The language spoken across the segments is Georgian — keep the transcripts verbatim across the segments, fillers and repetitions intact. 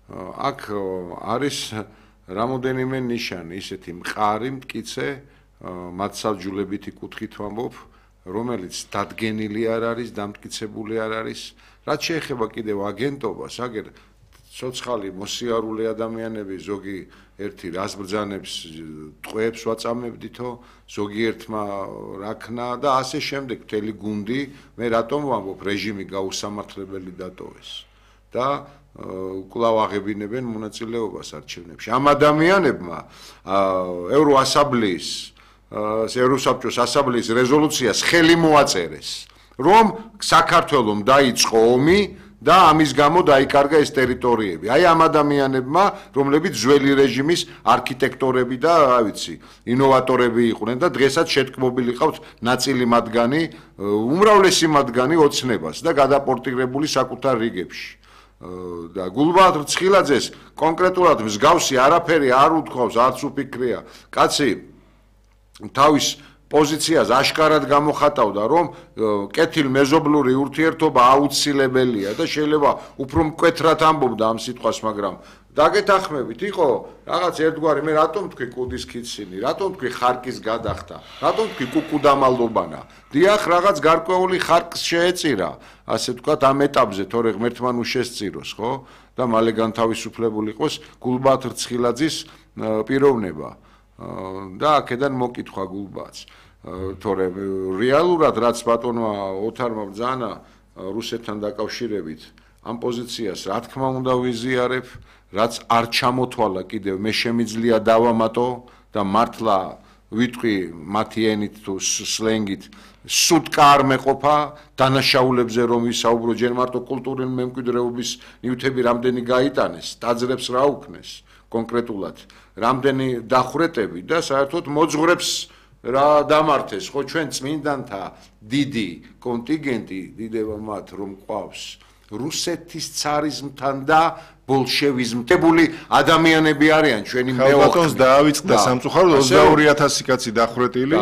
აქ არის რამოდენიმე ნიშანი, ისეთი მყარი, მტკიცე, მათსავჯულებითი კუთხით ვამბობ, რომელიც დადგენილი არ არის, დამტკიცებული არ არის. რაც შეეხება კიდევ აგენტობას, აგერ ცოცხალი მოსიარულე ადამიანები ზოგი ერთი რას ბრძანებს, ტყვეებს ვაწამებდითო, ზოგიერთმა რაქნა და ასე შემდეგ მთელი გუნდი, მე რატომ ვამბობ, რეჟიმი გაუსამართლებელი დატოვეს და კვლავ აღებინებენ მონაწილეობას არჩევნებში. ამ ადამიანებმა ევროასამბლეის ევროსაბჭოს ასამბლეის რეზოლუციას ხელი მოაწერეს, რომ საქართველოს დაიწყო ომი და ამის გამო დაიკარგა ეს ტერიტორიები. აი ამ ადამიანებმა, რომლებიც ძველი რეჟიმის არქიტექტორები და, რა ვიცი, ინოვატორები იყვნენ და დღესაც შეთქმობილი ყავთ ნაწილი მათგანი, უმრავლესი მათგანი ოცნებას და გადაპორტირებული საკუთარ რიგებში. და გულბაათ რცხილაძეს კონკრეტულად მსგავსი არაფერი არ უთქვავს, არც უფიქრია. კაცი თავის პოზიციას აშკარად გამოხატავდა, რომ კეთილმეზობლური ურთიერთობა აუცილებელია და შეიძლება უფრო მკვეთრად ამბობდა ამ სიტყვას, მაგრამ დაგეთანხმებით, იყო რაღაც ერთგვარი, მე რატომ თქვი კუდის ქიცინი, რატომ თქვი ხარკის გადახდა, რატომ თქვი კუკუდამალობანა. დიახ, რაღაც გარკვეული ხარკს შეეწირა, ასე ვთქვათ, ამ ეტაპზე, თორე ღმერთმა ნუ შესწიროს, ხო? და მალე განთავისუფლებული იყოს გულბაათ რცხილაძის პიროვნება. და აქედან მოკითხვა გულბაათს. თორე რეალურად რაც ბატონმა ოთარმა ბრძანა რუსეთთან დაკავშირებით ამ პოზიციას რა თქმა უნდა ვიზიარებ, რაც არ ჩამოთვალა კიდევ მე შემიძლია დავამატო და მართლა ვიტყვი მათი ენით თუ სლენგით სუტკა არ მეყოფა დანაშაულებზე რომ ვისაუბრო, ჯერ მარტო კულტურული მემკვიდრეობის ნივთები რამდენი გაიტანეს, ტაძრებს რა უქნეს კონკრეტულად, რამდენი დახვრეტები და საერთოდ მოძღვრებს რა დამართეს, ხო ჩვენ წმინდანთა დიდი კონტინგენტი დიდება მათ რომ ყავს რუსეთის ცარიზმთან და ბოლშევიზმთებული ადამიანები არიან ჩვენი მეოხლი. ბატონს დაავიწყდა სამწუხაროდ ოცდაორი ათასი კაცი დახვრეტილი,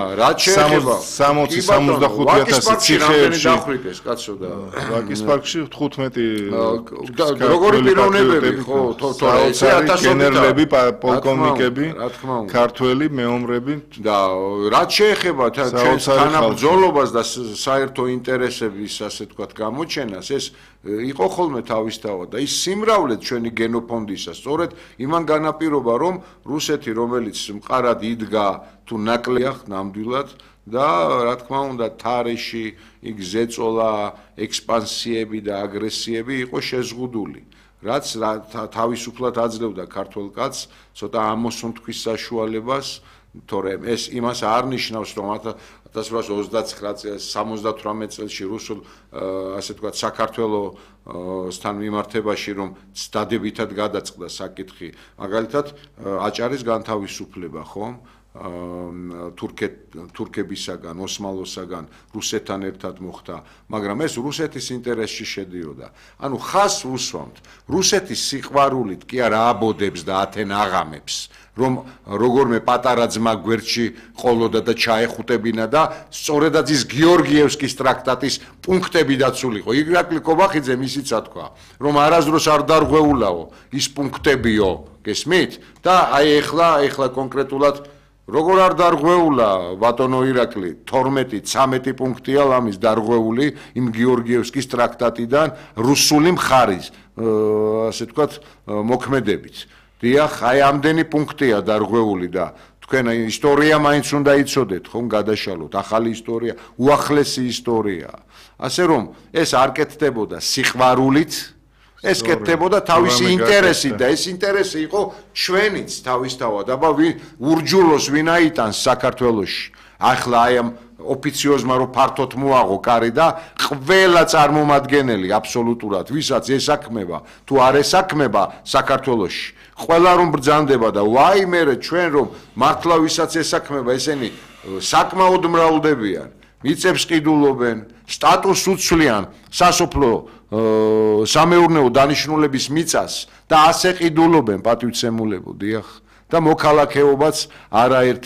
სამოცი სამოცდახუთი ათასი ციხეებში დახვრიტეს კაცო და ვაკის პარკში თხუთმეტი როგორი პიროვნებები ხო თორე გენერლები, პოლკოვნიკები, ქართველი მეომრები და რაც შეეხება ჩვენს თანაბრძოლობას და საერთო ინტერესების ასე ვთქვათ გამოჩენას, ეს იყო ხოლმე თავისთავად და ის სიმრავლე ჩვენი გენოფონდისა სწორედ იმან განაპირობა, რომ რუსეთი, რომელიც მყარად იდგა თუ ნაკლია ნამდვილად და რა თქმა უნდა თარეში იქ ზეწოლა, ექსპანსიები და აგრესიები იყო შეზღუდული. რაც თავისუფლად აძლევდა ქართველ კაცს ცოტა ამოსუნთქვის საშუალებას, თორემ ეს იმას არ ნიშნავს, რომ ათას რვაასი ოცდაცხრა სამოცდათვრამეტ წელში რუსულ ასე ვთქვათ საქართველოსთან მიმართებაში რომ დადებითად გადაწყდა საკითხი, მაგალითად აჭარის განთავისუფლება, ხო? თურქებისაგან, ოსმალოსაგან, რუსეთთან ერთად მოხდა, მაგრამ ეს რუსეთის ინტერესში შედიოდა. ანუ ხას უსვამთ, რუსეთის სიყვარულით კი არა აბოდებს და ათენ აღამებს, რომ როგორმე პატარა ძმა გვერდში ყოლოდა და ჩაეხუტებინა და სწორედაც ის გიორგიევსკის ტრაქტატის პუნქტები დაცულიყო. ირაკლი კობახიძემ ისიც თქვა, რომ არასდროს არ დარღვეულაო ის პუნქტებიო, გესმით? და აი ეხლა, ეხლა კონკრეტულად როგორ არ დარღვეულა ბატონო ირაკლი, თორმეტი ცამეტი პუნქტია ლამის დარღვეული იმ გიორგიევსკის ტრაქტატიდან რუსული მხარის, ასე ვთქვათ, მოქმედებით. დიახ, აი ამდენი პუნქტია დარღვეული და თქვენ ისტორია მაინც უნდა იცოდეთ, ხომ გადაშალოთ, ახალი ისტორია, უახლესი ისტორია. ასე რომ ეს არ კეთდებოდა სიყვარულით, ეს კეთდებოდა თავისი ინტერესით და ეს ინტერესი იყო ჩვენიც თავისთავად, აბა ურჯულოს ვინ აიტანს საქართველოში. ახლა აი ამ ოფიციოზმა რომ ფართოდ მოაღო კარი და ყველა წარმომადგენელი აბსოლუტურად, ვისაც ესაქმება, თუ არ ესაქმება საქართველოში, ყველა რომ ბრძანდება და ვაი მერე ჩვენ რომ მართლა ვისაც ესაქმება, ესენი საკმაოდ მრავლდებიან, მიწებს ყიდულობენ, სტატუსს უცვლიან სასოფლო სამეურნეო დანიშნულების მიწას და ასე ყიდულობენ პატივცემულებო, დიახ და მოქალაქეობაც არაერთი